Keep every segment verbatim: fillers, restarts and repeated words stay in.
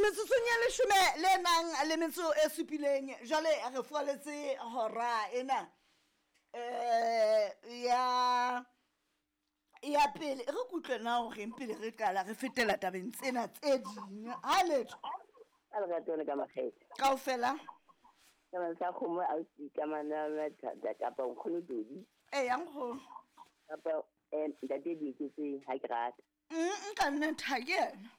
Metsotsong ya leshome le nang le metso e supileng jwale re fualetse hora ena um ya ya pele. Re kutlwe na horeng pele re qala re fetela tabeng tsena tse ding. Ha letho. Ka lerato le ka makgethe. Kaofela. Ka sa kgomo ausi ka mana kapa nkgono Dodi. E ya nkgono. Kapa eh ntate Dieketseng ha ke rata. Mm ka nnete ha ke yena.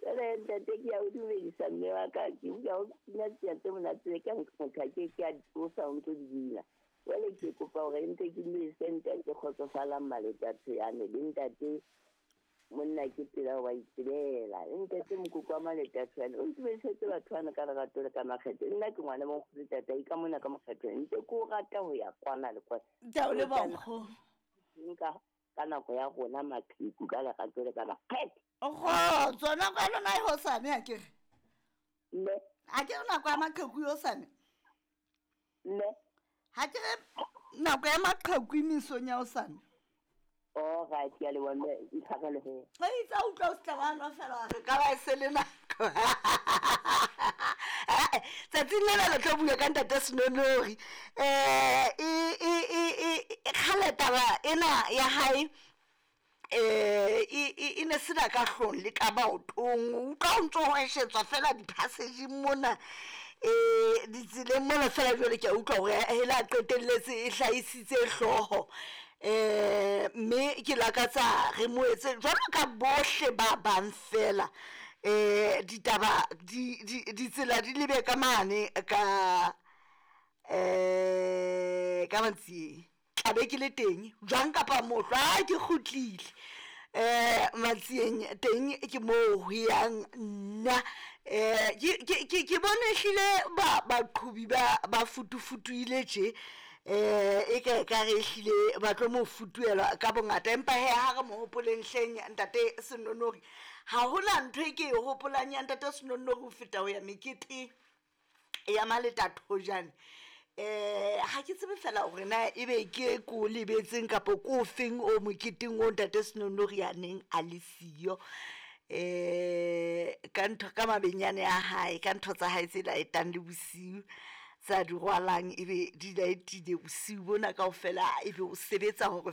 Jwale ntate ke a o dumedisa mme wa ka, ke utlwa o pina tsena tse monate ka motho a ke ke a di tlosa o ntso di bina. Jwale ke kopa hore ntse ke dumedise ntate Kgotsofalang Maletatso yane le ntate monna ke pela wa itsebela. Le ntate Mokoko wa Maletatso yane o ntumedisetse batho bana ka lerato le ka makgethe. Nna ke ngwana mo nkgono tata ka mona ka mokgetho ntse ke o rata ho ya kwana le kwana. Ke a o leboha nkgono. Nka ka nako ya rona maqheku ka lerato le ka makgethe. Kgotso, nako ya lona e hosane ha ke re? Mme. Ha ke re nako ya maqheku e hosane? Mme. Ha ke re nako ya maqheku e mesong ya hosane? All right, ke a leboha mme, ntshwarele he. Wa itse ha utlwa o se tla wa nwa fela wa re ka ba e se le nako. Tsatsing lena le tlo bua ka ntate Senonori. Eh e e e e kgale taba ena ya hae eh e e ne sena ka hlong le ka maotong. Utlwa o ntso hweshetswa fela di-passage mona eh ditseleng mona fela jwale ke a utlwa hore hela qetelletse e hlahisitse hlooho. Eh mme ke lakatsa re mo etse jwalo ka bohle ba bang fela. Eh ditaba di di ditsela di lebe ka mane ka eh ka Matsieng. Tla be ke le teng jwang kapa mohlwa ha ke kgutlile. Eh Matsieng teng ke moo ho yang nna. Eh ke ke ke bone ehlile ba baqhubi ba ba futufutuile tje. Eh e ka ka re ehlile ba tlo mo futuelwa ka bongata, empa he ha re mo hopoleng hleng ntate Senonori. Ha hona ntho e ke e hopolang ya ntate Senonori ho feta ho ya mekete ya Maletathojane. Eh ha ke tsebe fela hore na ebe ke ko lebetseng kapa ko feng o moketeng o ntate Senonori a neng a le siyo. Eh ka ntho ka mabenyane a hae, ka ntho tsa hae tse laetang le bosiu tsa di rwalang, ebe di laetile bosiu bona kaofela, ebe o sebetsa hore